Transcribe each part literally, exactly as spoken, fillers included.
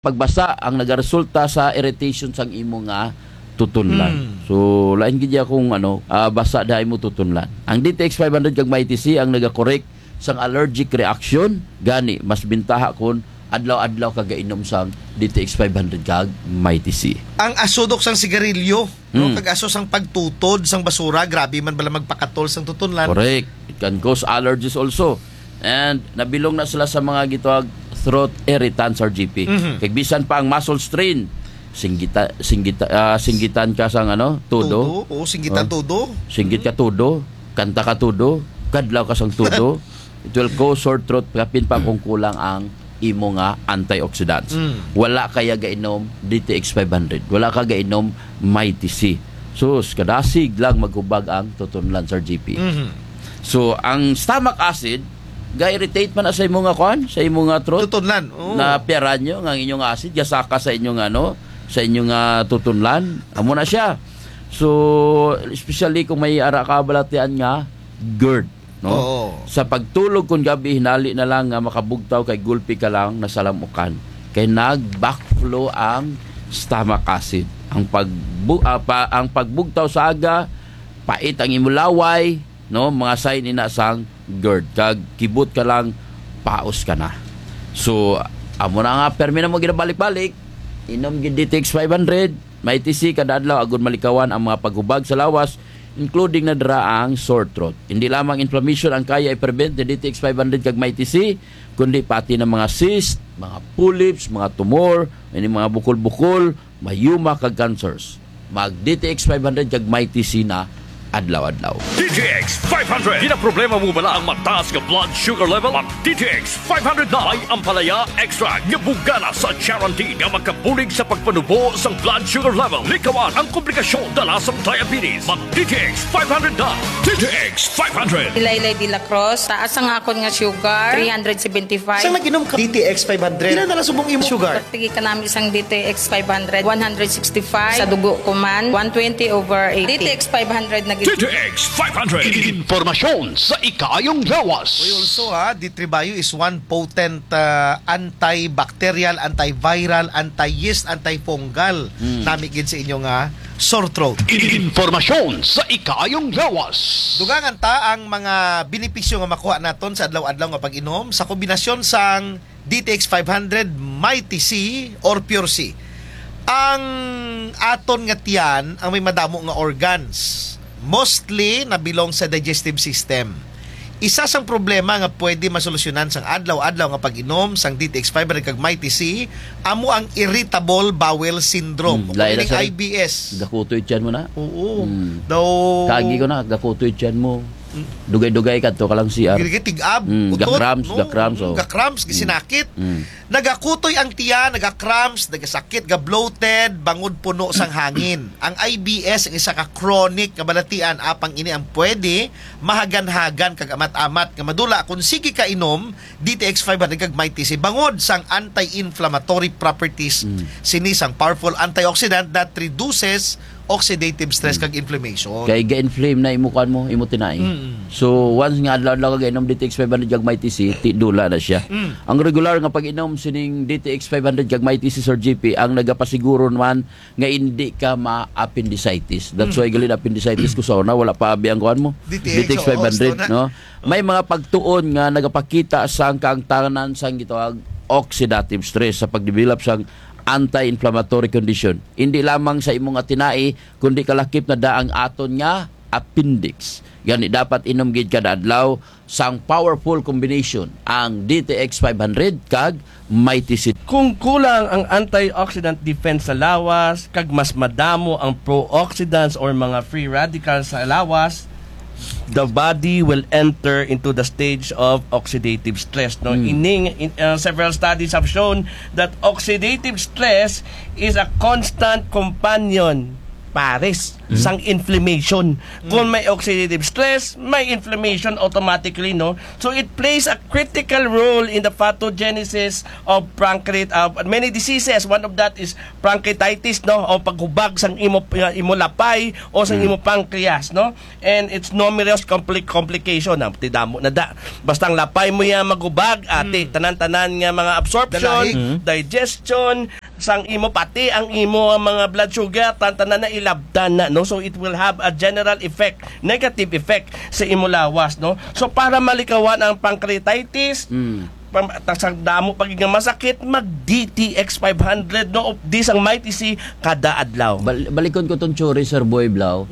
pagbasa ang nagaresulta sa irritation sang imo nga tutunlan. Hmm. So, lain gid ya kung ano, ah, basa da imo tutunlan. Ang D T X five hundred kag Mighty C ang nagakorek sang allergic reaction, gani mas bintaha kun adlaw-adlaw ka gainom sang D T X five hundred kag Mighty C. Ang aso, Dok, sang sigarilyo, no? Hmm. Kag aso sang pagtutod sang basura, grabe man bala magpakatol sang tutunlan. Correct. It can cause allergies also. And nabilong na sila sa mga gitawag throat irritants, Sir G P. Mhm. Kag bisan pa ang muscle strain, singgita-, singgita-, ah, singgitan ka sang ano, todo. Todo, oo, singgitan todo. Singgit ka todo, kanta ka todo, kadlaw ka sang todo. It will cause sore throat, kapin pa kung kulang ang imo nga antioxidants. Mm. Wala ka ya gainom D T X five hundred. Wala ka gainom Mighty C. Sus, kadasig lang maghubag ang tutunlan, Sir G P. Mhm. So, ang stomach acid, ga-irritate man na sa imo nga kuan, sa imo nga throat. Tutunlan, oo. Na piyaran nyo, nga ang inyong acid, gasaka sa inyong ano, sa inyong, ah, tutunlan. Amo na siya. So, especially kung may ara ka balatian nga GERD, no? Oo. Sa pagtulog kun gabi, hinali na lang nga makabugtaw kay gulpi ka lang nasalamukan. Kay nag-backflow ang stomach acid. Ang pagbu-, ah, pa-, ang pagbugtaw sa aga, pait ang imo laway, no? Mga sign ina sang GERD. Kag kibot ka lang, paos ka na. So, amo na nga, permi na mo ginabalik-balik, inom gid D T X five hundred, Mighty C kada adlaw, agud malikawan ang mga paghubag sa lawas, including na dira ang sore throat. Hindi lamang inflammation ang kaya i-prevent ni D T X five hundred kag Mighty C, kundi pati na mga cyst, mga polyps, mga tumor, ini mga bukol-bukol, myoma kag cancers. Mag D T X five hundred kag Mighty C na adlaw-adlaw. D T X five hundred. Ginaproblema mo bala ang mataas nga blood sugar level? Mag D T X five hundred na. May ampalaya extract nga bugana sa charantin nga makabulig sa pagpanubo sang blood sugar level. Likawan ang komplikasyon dala sang diabetes. Mag D T X five hundred na. D T X five hundred. Ilaylay de la Cruz, taas ang akon nga sugar, three hundred seventy-five. Sang nag-inom ka D T X five hundred, pila na lang subong imo sugar? Pagtigi kanami sang D T X five hundred, one hundred sixty-five. Sa dugo ko man, one twenty over eighty. D T X five hundred na gid. D T X five hundred. Impormasyon sa ikaayong lawas. Uy, also, ha, D three Bio is one potent, ah, antibacterial, antiviral, anti-yeast, antifungal. Hmm. Nami gid sa inyo nga sore throat. Impormasyon sa ikaayong lawas. Dugangan ta ang mga benepisyo nga makuha naton sa adlaw-adlaw nga pag-inom sa kombinasyon sang D T X five hundred, Mighty C, or Pure C. Ang aton nga tiyan ang may madamo nga organs. Mostly na belong sa digestive system. Isa sang problema nga pwede masolusyonan sang adlaw-adlaw nga pag-inom sang D T X five hundred kag Mighty C, amo ang irritable bowel syndrome. Hmm, o lain na, meaning sir. I B S. Gakutoy tiyan mo na. Oo. Hmm. Daw. Kaagi ko na, gakutoy tiyan mo. Hmm. Dugay-dugay kadto ka lang C R. Gid-gid tig-ab, hmm, utot, ga-cramps, no? Ga-cramps, hmm, oh. Ga-cramps, hmm, gisinakit. Hmm. Nagakutoy ang tiyan, naga-cramps, nagasakit, ga-bloated, bangod puno sang hangin. Ang I B S, ang isa ka chronic nga balatian, apang ini ang pwede mahagan-hagan kag amat-amat nga madula kon sige ka inom D T X five hundred kag Mighty C bangod sang anti-inflammatory properties, mm, sini sang powerful antioxidant that reduces oxidative stress, mm, kag inflammation. Kay ga-inflame na imo kuan mo, imo tinai. Mm. So, once nga adlaw-adlaw ka gainom D T X five hundred kag Mighty C, ti dula na siya. Mm. Ang regular nga pag-inom sining D T X five hundred kag Mighty C, Sir G P, ang nagapasiguro man nga indi ka ma-appendicitis. That's, mm, why gali appendicitis ko sa una, wala pa abi ang kuan mo. D T X, D T X five hundred, oo, no? May mga pagtuon nga nagapakita sang kaangtanan sang gitawag oxidative stress sa pagdevelop sang anti-inflammatory condition. Indi lamang sa imo nga tinai, kundi kalakip na da ang aton nga appendix. Gani dapat inom gid kada adlaw sang powerful combination ang D T X five hundred kag Mighty C. Kung kulang ang antioxidant defense sa lawas, kag mas madamo ang pro-oxidants or mga free radicals sa lawas, the body will enter into the stage of oxidative stress, no? Hmm. Ining, in, uh, several studies have shown that oxidative stress is a constant companion pares sang inflammation. Kung may oxidative stress, may inflammation automatically, no? So it plays a critical role in the pathogenesis of pancreat, uh, many diseases. One of that is pancreatitis, no? O paghubag sang imo, uh, imo lapay o sang imo pancreas, no? And it's numerous compli-, complication, ah, ti damo na da. Basta ang lapay mo ya maghubag, ati, tanan-tanan nga mga absorption, digestion, sang imo, pati ang imo, ah, mga blood sugar, tan-tanan na ilabtan na, no? So it will have a general effect, negative effect sa imo lawas, no? So para malikawan ang pancreatitis, pam-, ta-, sa damo pa gid nga masakit, mag D T X five hundred, no? Of this ang Mighty C kada adlaw. Bal-, balikon ko tong theory, Sir Boy Blau.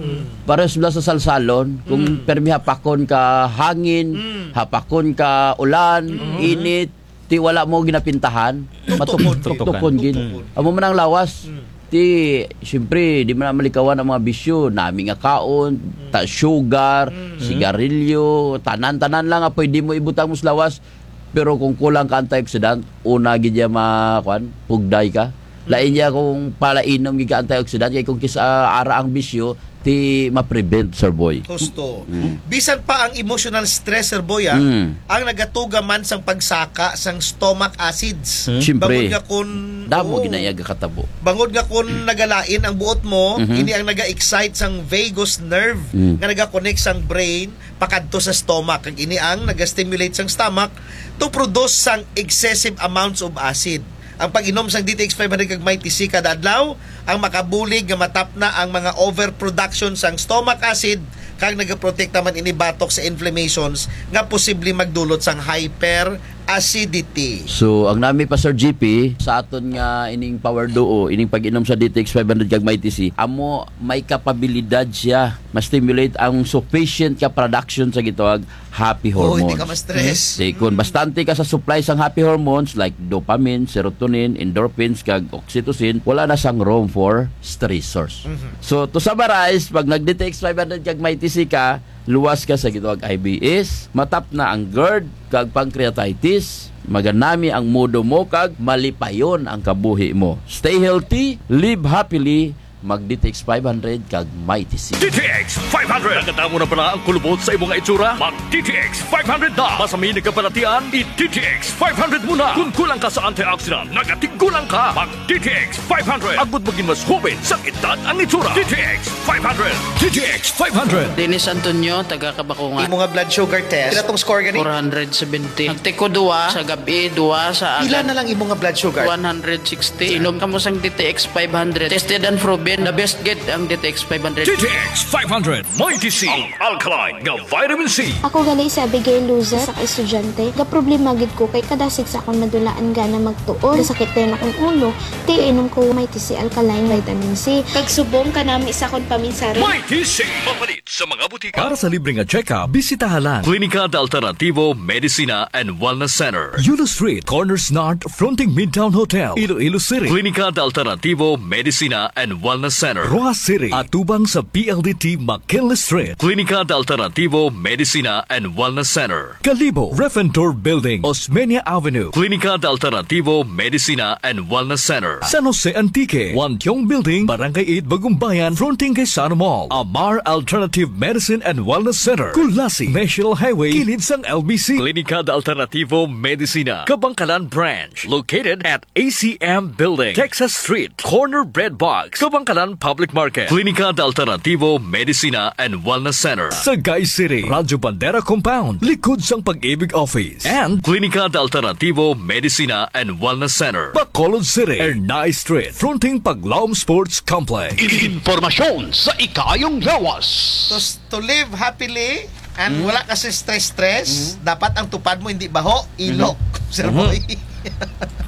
Pares bala sa salsalon, kung permi hapakon ka hangin, hapakon ka ulan, init, ti wala mo ginapintahan, matuk-, tuktukon gid. Amo man ang lawas. Ti, siyempre, di man na malikawan ang mga bisyo, nami nga kaon, ta-, sugar, sigarilyo, tanan-tanan lang nga pwede mo ibutang mo sa lawas. Pero kung kulang ka antioxidant, una gid ya ma-, kuan, pugday ka. Lain ya kung palainom gid ka antioxidant, kay kung kis-a ara ang bisyo, ti ma-prevent, Sir Boy. Husto. Bisan pa ang emotional stress, Sir Boy, ah, ang nagatuga man sang pagsaka sang stomach acids. Siyempre. Bangod nga kun, damo gid na iya gakatabo. Bangod nga kun nagalain ang buot mo, ini ang naga-excite sang vagus nerve nga naga-connect sang brain pakadto sa stomach. Kag ini ang naga-stimulate sang stomach to produce sang excessive amounts of acid. Ang pag-inom sang D T X five hundred kag Mighty C kada adlaw, ang makabulig nga matapna ang mga overproduction sang stomach acid, kag nagaprotekta man ini batok sa inflammations nga posible magdulot sang hyperacidity. So, ang nami pa, Sir G P, sa aton nga ining Power Duo, ining pag-inom sa D T X five hundred kag Mighty C, amo may kapabilidad siya ma-stimulate ang sufficient ka production sa gitawag happy hormones. Oh, hindi ka ma-stress. Ti kun bastante ka sa supply sang happy hormones like dopamine, serotonin, endorphins, kag oxytocin, wala na sang room for stressors. So, to summarize, pag nag-D T X five hundred kag Mighty C ka, luwas ka sa gitawag I B S, matapna ang GERD, kag pancreatitis, maganami ang mudo mo, kag malipayon ang kabuhi mo. Stay healthy, live happily, mag D T X five hundred kag Mighty C. D T X five hundred. Nakadamo na bala ang kulubot sa imo nga itsura? Mag D T X five hundred na. Basta may nagkabalatian, i-D T X five hundred mo na. Kun kulang ka sa antioxidant, nagatigulang ka. Mag D T X five hundred. Agud magin mas hoben sang edad ang itsura. D T X five hundred. D T X five hundred. Dennis Antonio, taga Kabakungan. Imo nga blood sugar test, pila tong score gani? Four hundred seventy. Nagtiko duwa sa gab-i, duwa sa aga. Pila na lang imo nga blood sugar? One hundred sixty. Inom kamo sang D T X five hundred. Tested and proven. The best gid ang D T X five hundred. D T X five hundred. Mighty C. Ang alkaline nga vitamin C. Ako gali si Abigail Luzet, isa ka estudyante. Gaproblema gid ko kay kada sigs akon madulaan gana magtuon. Gasakit dayon akon ulo. Ti inom ko Mighty C alkaline vitamin C. Kag subong kanami sa akon paminsari. Mighty C. Mapalit sa mga butika. Para sa libre nga check-up, bisitaha lang Clínica de Alternativo Medicina and Wellness Center. Yulo Street, corner Snart, fronting Midtown Hotel, Iloilo City. Clínica de Alternativo Medicina and Wellness Center. Roxas City, atubang sa P L D T McKinley Street. Clínica de Alternativo Medicina and Wellness Center. Kalibo, Refentor Building, Osmeña Avenue. Clínica de Alternativo Medicina and Wellness Center. San Jose Antique, Wan Tiong Building, Barangay eight, Bagumbayan, fronting kay Sano Mall. Amar Alternative Medicine and Wellness Center, Culasi, National Highway, kilid sang L B C. Clínica de Alternativo Medicina, Kabankalan Branch, located at A C M Building, Texas Street, corner Bread Box, Kabankalan Public Market. Clínica de Alternativo Medicina and Wellness Center. Sagay City, Radyo Bandera Compound, likod sang Pag-ibig Office. And Clínica de Alternativo Medicina and Wellness Center. Bacolod City, Ernai Street, fronting Paglaom Sports Complex. Impormasyon sa ikaayong lawas. To, to live happily and wala ka sa stress-stress, dapat ang tupad mo hindi baho, ilok, Sir Boy.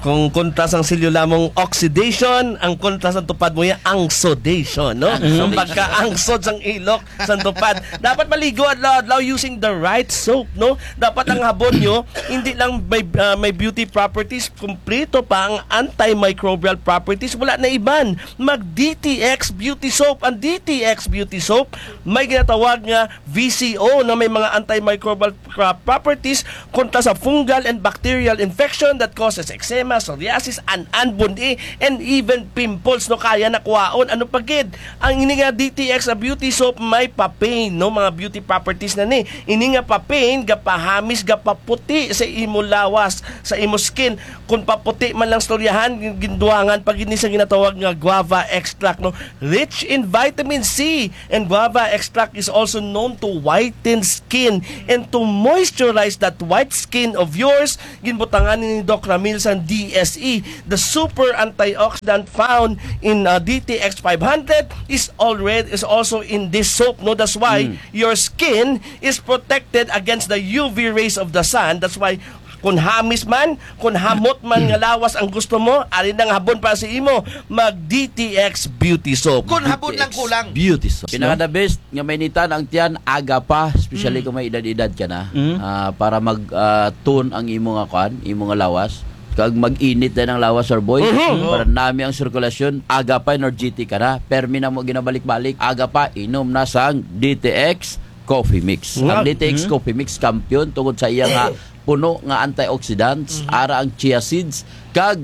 Kung kontra sang selyo lamang oxidation, ang kontra sang tupad mo ya ang sodation, no? Ang pagkaangsod sang ilok, sang tupad. Dapat maligo adlaw-adlaw using the right soap, no? Dapat ang habon nyo, hindi lang may, ah, may beauty properties, kumpleto pa ang antimicrobial properties. Wala na iban. Mag D T X Beauty Soap. Ang D T X Beauty Soap, may ginatawag nga V C O na may mga antimicrobial pra-, properties kontra sa fungal and bacterial infection that causes eczema, psoriasis, an-an, bun-i, and even pimples, no, kaya na kuhaon. Ano pa gid? Ang ini nga D T X, ah, beauty soap may pa-pain, no, mga beauty properties na ni. Ini nga pa-pain, gapahamis, gapaputi sa imo lawas, sa imo skin. Kon paputi man lang istoryahan, gin-, gindugangan pa gid ni sa ginatawag nga guava extract, no? Rich in vitamin C, and guava extract is also known to whiten skin and to moisturize that white skin of yours. Ginbutangan ni Doc Ramil sa D S E. The super antioxidant found in, uh, D T X five hundred is already, is also in this soap, no? That's why your skin is protected against the U V rays of the sun. That's why kon hamis man, kon hamot man nga lawas ang gusto mo, ari na ang habon para sa imo, mag D T X Beauty Soap. Kon habon lang kulang. Beauty Soap, no? Pinaka the best nga mainitan ang tiyan, aga pa, especially kung may edad-edad ka na. Ah, para mag, ah, tone ang imo nga kuan, imo nga lawas. Kag mag-init din ang lawas, sir boy. Para nami ang sirkulasyon, aga pa, energetic ka na. Permi na mo ginabalik-balik, aga pa, inom na sang D T X Coffee Mix. Ang D T X Coffee Mix, kampiyon tungod sa iya nga puno nga antioxidants, ara ang chia seeds, kag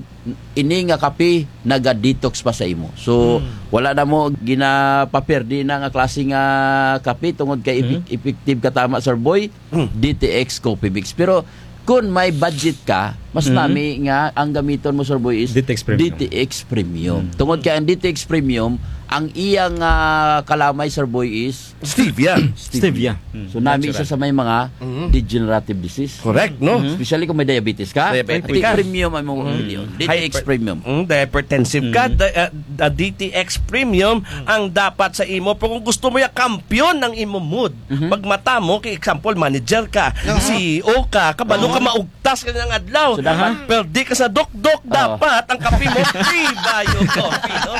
ini nga kape naga-detox pa sa imo. So, wala na mo ginapaperde na nga klase nga kape tungod kay epi-, effective ka tama, sir boy, D T X Coffee Mix. Pero kon may budget ka, mas nami nga ang gamiton mo, sir boy, is D T X Premium. D T X Premium. Tungod kay ang D T X Premium, ang iyang, ah, kalamay, sir boy, is Stevia. Stevia. So, nami isa sa may mga degenerative disease. Correct, no? Especially kung may diabetes ka. Diabetic ka. Premium ang imong pilion. D T X Premium. Mm, hypertensive ka. The, uh, the D T X Premium ang dapat sa imo. Pero kung gusto mo ya kampiyon ang imo mood, pagmata mo, kay example, manager ka, C E O ka, kabalo ka maugtas ka ng adlaw, perde ka sa dokdok, dapat ang kape mo, Prebio Coffee, no?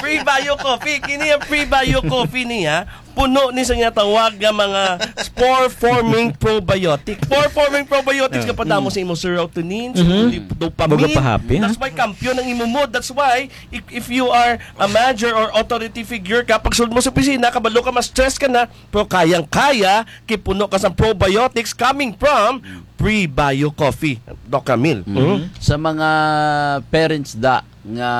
Prebio Coffee, kini ang Prebio Coffee niya, puno ni sa ginatawag nga mga spore-forming probiotic. Spore-forming probiotics nga padamo sa imo serotonin, sa imo dopamine. That's why kampiyon ang imo mood. That's why, if, if you are a manager or authority figure ka, pagsulod mo sa opisina, kabalo ka, ma-stress ka na, pero kayang-kaya, kay puno ka sa probiotics coming from Prebio Coffee, Doc Ramil. Sa mga parents da nga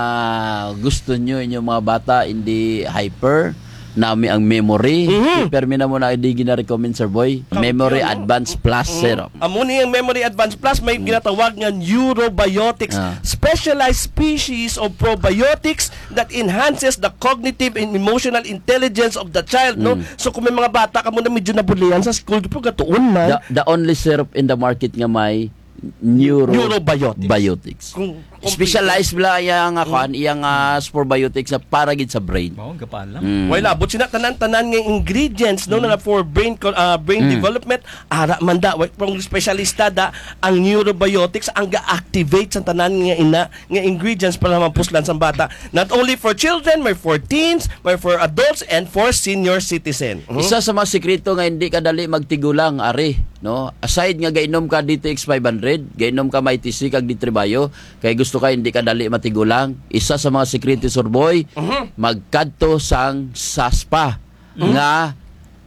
gusto nyo inyong mga bata hindi hyper, nami ang memory, permi na mo na di gina-recommend, sir boy. Memory Advance Plus Syrup. Amo ni ang Memory Advance Plus, may ginatawag nga neurobiotics, specialized species of probiotics that enhances the cognitive and emotional intelligence of the child, no? So, kung may mga bata kamo na medyo nabulian sa school, pero gatuon man. The, the only syrup in the market nga may neuro-, neurobiotics. Biotics. Kung, kung specialized bala iya nga kuan, iya nga, ah, probiotics na para gid sa brain. Mao, gapaalam. Wala, but sina tanan-tanan nga ingredients, no, nga for brain co-, ah, brain development, ara man da, wa-, kung espesyalista da, ang neurobiotics, ang ga-activate sa tanan nga ina, nga ingredients para mapuslan sa bata. Not only for children, may for teens, may for adults, and for senior citizen. Isa sa mga sikreto nga hindi ka dali magtigulang, ari, no? Aside nga gainom ka D T X five hundred, gainom ka Mighty C kag D three Bio, kay gusto ka hindi ka dali matigulang. Isa sa mga sikreto, sir boy, magkadto sang sa spa nga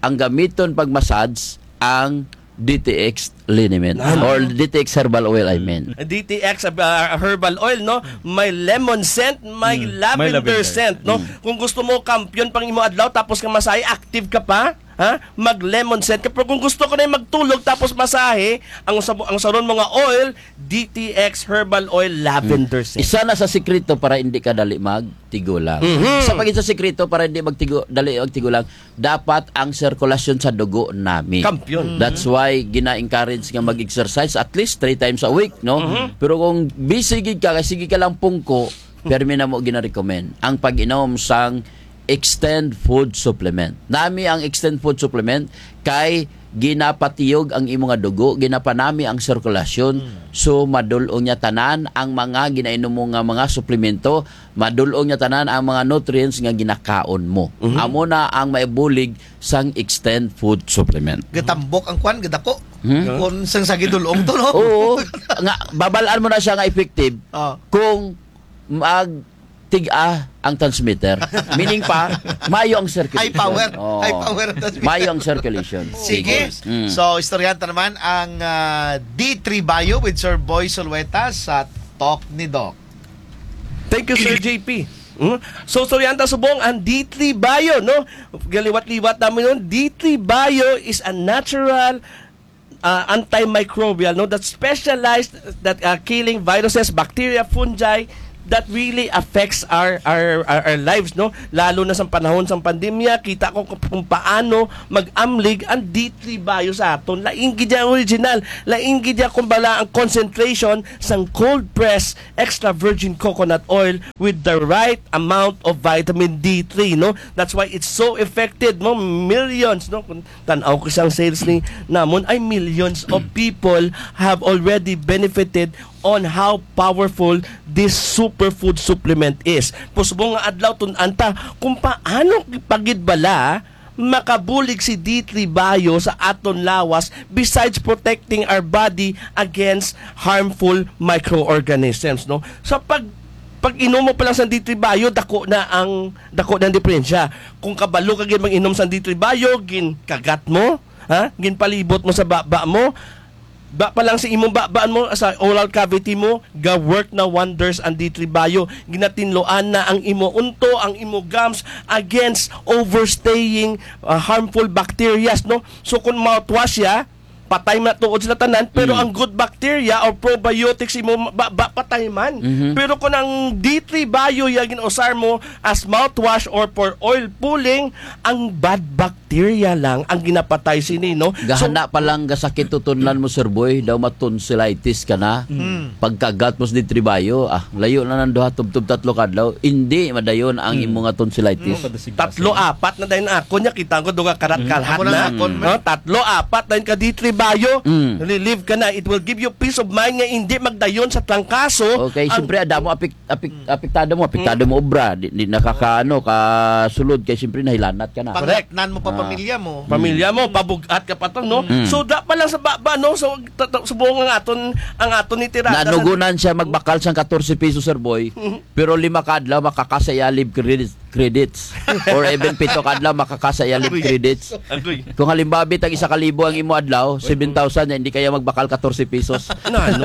ang gamiton pag-massage ang D T X liniment or D T X herbal oil, I mean. D T X, ah, herbal oil, no? May lemon scent, may lavender scent, no? Kung gusto mo kampiyon pang imo adlaw, tapos ka masahe, active ka pa, ha? Mag lemon scent ka. Pero kung gusto ko na magtulog, tapos masahe, ang sabo-, ang saron mo nga oil, D T X herbal oil, lavender scent. Isa na sa sikreto para hindi ka dali magtigulang. Isa pa gid sa sikreto para hindi magtigu-, dali magtigulang, dapat ang sirkulasyon sa dugo nami. Kampiyon. That's why gina-encourage nga mag-exercise at least three times a week, no? Pero kung busy gid ka, kay sige ka lang pungko, permi na mo gina-recommend ang pag-inom sang Extend Food Supplement. Nami ang Extend Food Supplement kay ginapatiyog ang imo nga dugo, ginapanami ang sirkulasyon, so madul-ong niya tanan ang mga ginainom mo nga mga suplemento, madul-ong niya tanan ang mga nutrients nga ginakaon mo. Amo na ang maibulig sang Extend Food Supplement. Gatambok ang kwan, gadako. Kung sang sa gidul-ong to, no? Oo. Nga, babal-an mo na siya nga effective kung mag tig-a ang transmitter. Meaning pa, maayo ang circulation. High power. Oo. High power ang transmitter. Maayo ang circulation. Sige. Mm. So, istoryahan ta naman ang, ah, D three Bio with Sir Boy Sulueta sa Talk ni Doc. Thank you, Sir J P. Mm. So, istoryahan ta subong ang D three Bio, no? Galiwat-liwat namun, no? D three Bio is a natural, uh, antimicrobial, no, that specialized, that, uh, killing viruses, bacteria, fungi that really affects our, our, our, our lives, no? Lalo na sa panahon sa pandemya, kita ko kung, kung paano mag-amlig ang D three Bio sa aton. Lain gid ya original, lain gid ya, kumbala, ang concentration sang cold press extra virgin coconut oil with the right amount of vitamin D three, no? That's why it's so effective, no? Millions, no? Kung tan-aw ko sang sales ni namun, ay, millions of people have already benefited on how powerful this superfood supplement is. Subong nga adlaw, tun-an ta kung paano pa gid bala makabulig si D three Bio sa aton lawas, besides protecting our body against harmful microorganisms, no? Sa pag, pag-inom mo pa lang sa D three Bio, dako na ang, dako na ang diperensya. Kung kabalo ka gid mag-inom sa D three Bio, ginkagat mo, ha? Ginpalibot mo sa baba mo, ba pa lang sa imong babaan mo, sa oral cavity mo, ga-work na wonders ang D three Bio. Ginatinloan na ang imo unto, ang imo gums against overstaying, ah, harmful bacterias, no? So, kung mouthwash ya, patay man tuod sila tanan, pero ang good bacteria or probiotics imo ba, ba patay man. Mhm. Pero kung ang D three Bio ya gin-usar mo as mouthwash or for oil pulling, ang bad bacteria lang ang ginapatay sini, no? So, gahana pa lang gasakit tutunlan mo, Sir Boy, daw ma-tonsillitis ka na. Mm. Pagkagat mo sa D three Bio, ah, layo na nang duha, tubtob tatlo ka adlaw, indi madayon ang imo nga tonsillitis. Mm, madasig-dasig. Tatlo, apat na dayon ako niya, kita ko duga karat kalhat na. Amo na akon, man. No, tatlo, apat dayon ka D three Bio, relieve ka na. It will give you peace of mind nga indi magdayon sa trangkaso. Okay, siyempre, ada mo apik-, apik-, apektado mo, apektado mo obra, di, di nakakaano, kasulod, kay siyempre nahilanat ka na. Correct. Pangatnan mo pa pamilya mo. Pamilya mo, pabug-at ka pa to, no? Mm. So, da pa lang sa baba, no? So, ta-, ta-, subong ang aton, ang aton ni tirada sa... Nanugunan siya magbakal sang katorse piso, Sir Boy. Pero lima ka adlaw, makakasa ya live credits, credits. Or even pito ka adlaw, makakasa ya live credits. Agoy. Kung halimbawa, bitang isa ka libo ang imo adlaw, seven thousand, indi kaya magbakal katorse pisos. Na, ano?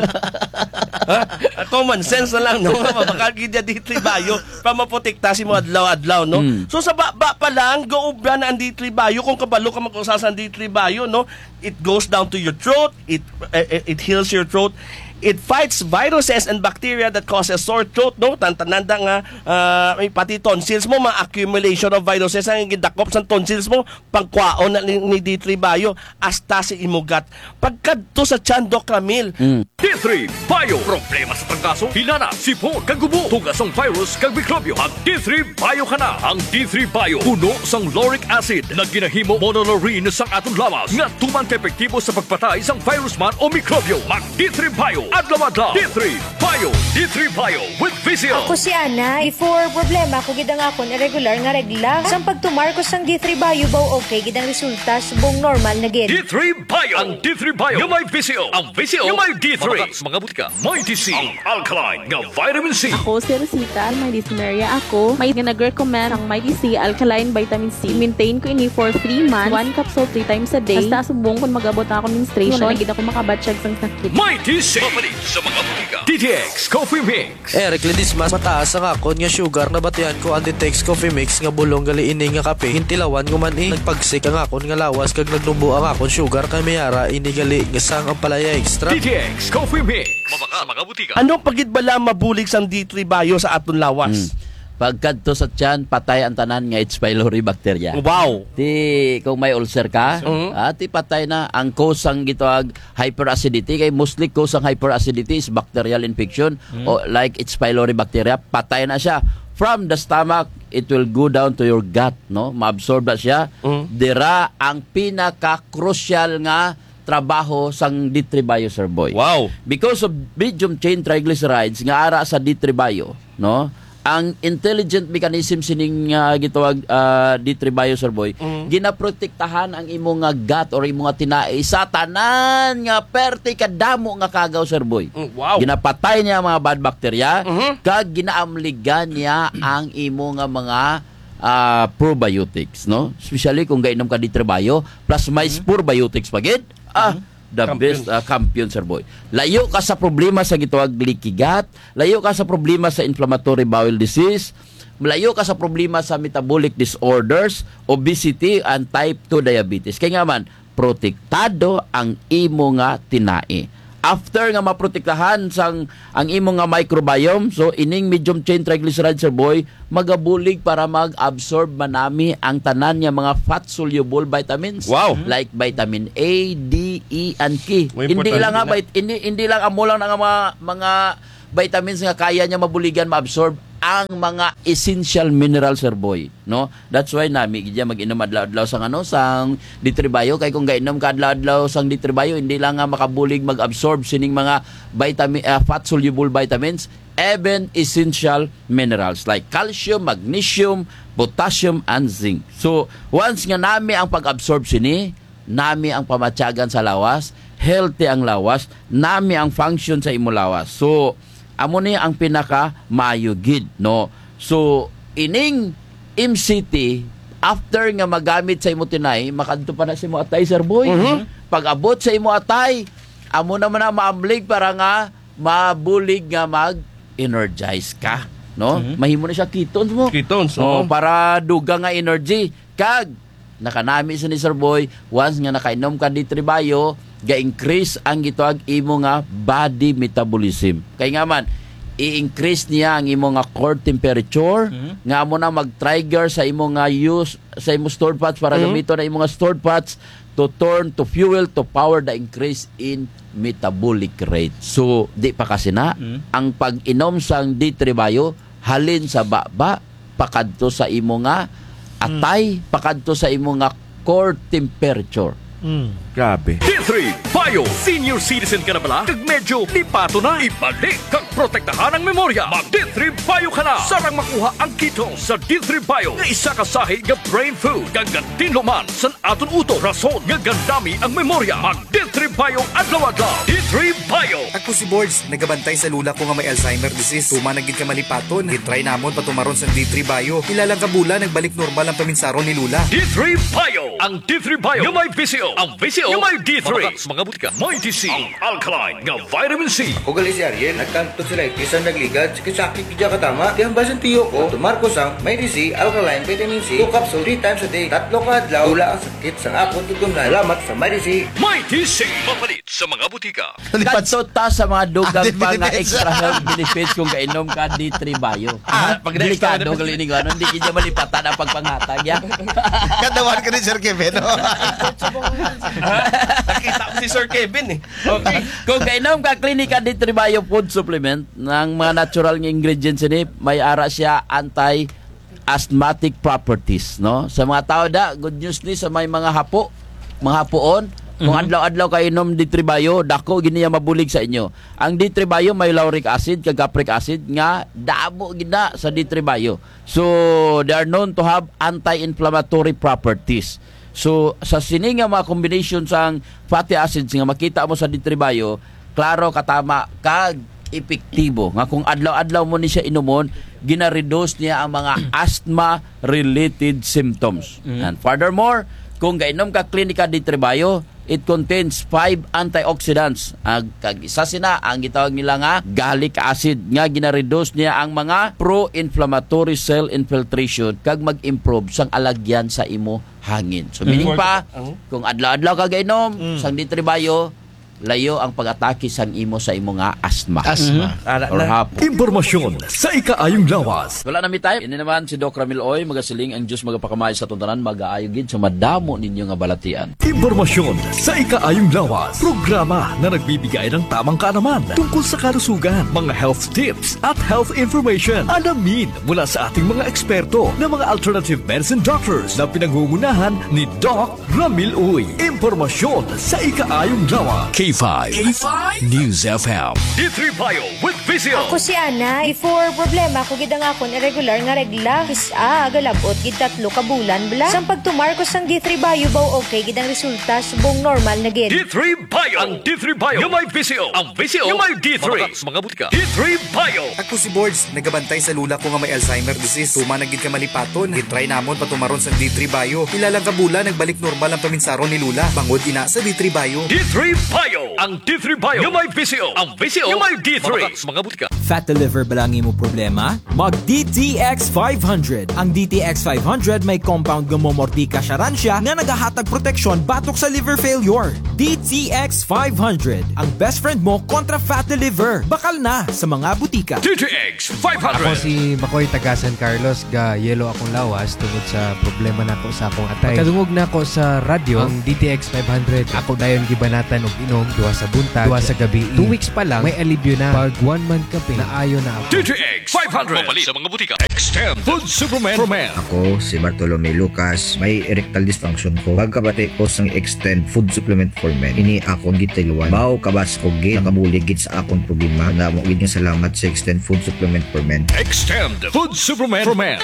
Ha? Ah, common sense na lang, no? Mabakal gid ya D three Bio, pa maprotekta sa imo adlaw-adlaw, no? Mm. So, sa baba pa lang, gaobra na ang D three Bio, kung kabalo ka mag-usa sa D three Bio, no? It goes down to your throat, it, eh, eh, it heals your throat, it fights viruses and bacteria that causes sore throat, no? Tan-, tanan da nga, ah, may pati tonsils mo, ma-accumulation of viruses ang gindakop sa tonsils mo, pagkwaon na ni, ni D three Bio, hasta sa imo gut. Pagkadto sa tiyan, Doc Ramil. Mm. D three Bio. Problema sa trangkaso, hilanat, sipon, kag ubo, tuga sang virus, kag mikrobyo. Mag D three Bio ka na. Ang D three Bio, puno sang lauric acid, nga ginahimo monolaurin sang aton lawas, nga tuman ka epektibo sa pagpatay sang virus man o mikrobyo. Mag D three Bio, adlaw-adlaw. D three Bio, D three Bio with V C L. Ako si Ana. Before, problema ko gid ang akon irregular nga regla. Sang pagtumar ko sang D three Bio, baw okay gid ang resulta, subong normal na gid. D three Bio. Ang D three Bio nga may V C L. Ang V C L nga may D three. Mabakal sa mga butika. Mighty C. Ang alkaline nga vitamin C. Ako si Rosita, may dysmenorrhea ako. May nga nag-recommend ang Mighty C alkaline vitamin C. Maintain ko ini for three months. One capsule three times a day. Hasta subong kon mag-abot ang akon menstruation, wara na gid ako makabatyag sang sakit. Mighty C. Mapalit sa mga butika. D T X Coffee Mix. Eric Ledesma, mataas ang akon nga sugar, nabatian ko ang D T X Coffee Mix nga bulong gali ini nga kape. Gintilawan ko man, eh. Nagpagsik ang akon nga lawas kag nagnubo ang akon sugar, kay may ara ini gali nga sang Ampalaya Extra. D T X Coffee Mix. Mabakal sa mga butika. Ano pa gid bala mabulig sang D three Bio sa aton lawas? Hmm. Pagkadto sa tiyan, patay ang tanan nga H. pylori bacteria. Wow! Ti, kung may ulcer ka, ah, ti patay na ang cause sang gitawag hyperacidity, kay mostly cause sang hyperacidity is bacterial infection, o like H. pylori bacteria, patay na siya. From the stomach, it will go down to your gut, no? Maabsorb na siya. Dira ang pinaka-crucial nga trabaho sang D three Bio, Sir Boy. Wow. Because of medium chain triglycerides nga ara sa D three Bio, no? Ang intelligent mechanism sining, ah, gitawag, ah, D three Bio, Sir Boy, ginaprotektahan ang imo nga gut or imo nga tinai sa tanan nga perte kadamo nga kagaw, Sir Boy. Mm, wow. Ginapatay niya ang mga bad bacteria, kag ginaamligan niya ang imo nga mga, ah, probiotics, no? Especially kung gainom ka D three Bio, plus may probiotics pa gid. Ah, the best, ah, champion, Sir Boy. Layo ka sa problema sa gitawag leaky gut, layo ka sa problema sa inflammatory bowel disease, layo ka sa problema sa metabolic disorders, obesity, and type two diabetes. Kay nga man, protektado ang imo nga tinai. After nga maprotektahan sang ang imo nga microbiome, so ining medium chain triglyceride, Sir Boy, magabulig para mag-absorb manami ang tanan nga mga fat-soluble vitamins. Wow. Like vitamin A, D, E, and K. Hindi lang nga vit-, hindi, hindi lang amo lang nga mga, mga vitamins nga kaya niya mabuligan, maabsorb ang mga essential minerals, Sir Boy, no? That's why nami gid dya mag-inom adlaw-adlaw sang ano, sang D three Bio. Kay kung gainom ka adlaw-adlaw sang D three Bio, hindi lang nga makabulig mag-absorb sining mga vitamin, ah, fat-soluble vitamins, even essential minerals like calcium, magnesium, potassium, and zinc. So, once nga nami ang pag-absorb sini, nami ang pamatyagan sa lawas, healthy ang lawas, nami ang function sa imo lawas. So, amo ni ang pinaka maayo gid, no? So, ining M C T, after nga magamit sa imo tinai, makadto pa na sa imo atay, Sir Boy. Pag-abot sa imo atay, amo na man na maamlig para nga mabulig nga mag-energize ka, no? Mahimo na siya ketones mo. Ketones, oo. Para dugang nga energy. Kag nakanami sini, Sir Boy, once nga nakainom ka D three Bio, ga-increase ang gitawag imo nga body metabolism. Kay nga man, i-increase niya ang imo nga core temperature, nga amo na mag-trigger sa imo nga use, sa imo stored fats para gamiton ang imo nga stored fats to turn to fuel to power the increase in metabolic rate. So, di pa kasi na, ang pag-inom sang D three Bio, halin sa baba, pakadto sa imo nga atay, pakadto sa imo nga core temperature. Grabe. D three Bio. Senior citizen ka na bala? Kag medyo lipaton na? Ibalik kag protektahan ang memorya. Mag D three Bio ka na. Sarang makuha ang ketones sa D three Bio nga isa ka sahi nga brain food. Kag gantinuman sa aton utok, rason nga gandami ang memorya. Mag D three Bio adlaw-adlaw. D three Bio. Ako si Borge, nagabantay sa lola ko nga may Alzheimer disease. Tuman na gid ka malipaton. Gitry namon patumaron sang D three Bio. Pila lang ka bulan, nagbalik normal ang paminsaron ni lola. D three Bio. Ang D three Bio nga may V C O. Ang V C O nga may D three. Mabakal sa mga butika. May D C. Ang alkaline nga vitamin C. Ako gali si Ariel, nagka-tonsillitis ang nagligad, sakit-sakit gid dya katama. Ti hambal sang tiyo ko, tumar ko sang May D C alkaline vitamin C, two capsule, three times a day. Tatlo ka adlaw, wala ang sakit sang akon tutunlan. Salamat sa May D C. May D C, mapalit sa mga butika. Kadto ta sa mga dugang pa nga extra health benefits kung gainom ka D three Bio. Ah, pag next time, delikado gali ni, ano, hindi gid dya malipatan ang pagpanghatag, ya. Kadawan ka ni Sir Kevin, no? Nakita ko si Sir Kevin, eh. Okay. Kung gainom ka Clinica D three Bio food supplement, ang mga natural nga ingredients ini, may ara siya anti-asthmatic properties, no? Sa mga tao da, good news ni sa may mga hapo, mga hapoon. Kung adlaw-adlaw ka inom D three Bio, dako gid niya mabulig sa inyo. Ang D three Bio may lauric acid kag capric acid nga damo gid na sa D three Bio. So, they are known to have anti-inflammatory properties. So, sa sini nga mga combination sang fatty acids nga makita mo sa D three Bio, klaro, katama kag epektibo nga kung adlaw-adlaw mo ni siya inumon, gina-reduce niya ang mga asthma-related symptoms. And furthermore, kung gainom ka Clinica D three Bio, it contains five antioxidants. Ag, kag isa sina ang gitawag nila nga gallic acid nga gina-reduce niya ang mga pro-inflammatory cell infiltration kag mag-improve sang alagyan sa imo hangin. So, meaning pa, kung adlaw-adlaw ka gainom sang D three Bio, layo ang pag-atake sang imo sa imo nga asthma. Asthma. Ara na. Or hapo. Impormasyon sa ikaayong lawas. Wala na mi time. Ini naman si Doc Ramil Uy, magasiling ang Diyos magapakamay sa aton tanan, magaayo gid sa madamo ninyo nga balatian. Impormasyon sa ikaayong lawas. Programa na nagbibigay ng tamang kaalaman tungkol sa kalusugan, mga health tips at health information. Alamin mula sa ating mga eksperto na mga alternative medicine doctors na pinangungunahan ni Doc Ramil Uy. Impormasyon sa ikaayong lawas. K five News F M. D three Bio with Visio. Ako si Ana. Before, problema ko gid ang akon irregular nga regla. Kis-a, agalab-ot gid tatlo ka bulan bala. Sang pagtumar ko sang D three Bio, baw okay gid ang resulta, subong normal na gid. D three Bio. Ang D three Bio nga may Visio. Ang Visio nga may D three. Mabakal sa mga butika. D three Bio. Ako si Bords, nagabantay sa lola ko nga may Alzheimer disease. Tuman na gid ka malipaton. Gin-try namon patumaron sang D three Bio. Pila lang ka bulan, nagbalik normal ang paminsaron ni lola. Bangod ina sa D three Bio. D three Bio. Ang D three Bio nga may Visio. Ang Visio nga may D three. Mabakal sa mga butika. Fatty liver bala ang imo problema? Mag D T X five hundred. Ang D T X five hundred may compound nga momortika siya ran siya nga nagahatag proteksyon batok sa liver failure. D T X five hundred, ang best friend mo kontra fatty liver. Bakal na sa mga butika. D T X five hundred. Ako si Makoy, taga San Carlos, ga-yellow akong lawas tungod sa problema nako sa akong atay. Pagkadungog nako sa radyo, ang D T X five hundred, ako dayon gibanatan og inom, duha sa buntag, duha sa gabii. Two weeks pa lang, may alibyo na. Pag one month kapin, naayo na ako. D T X five hundred. Mapalit sa mga butika. Extend Food Supplement for Men. Ako si Bartolome Lucas, may erectile dysfunction ko. Pagkabati ko sang Extend Food Supplement for Men, ini akon gitiluan. Baw kabas ko gid, nakabulig gid sa akon problema. Damo gid nga salamat sa Extend Food Supplement for Men. Extend Food Supplement for Men.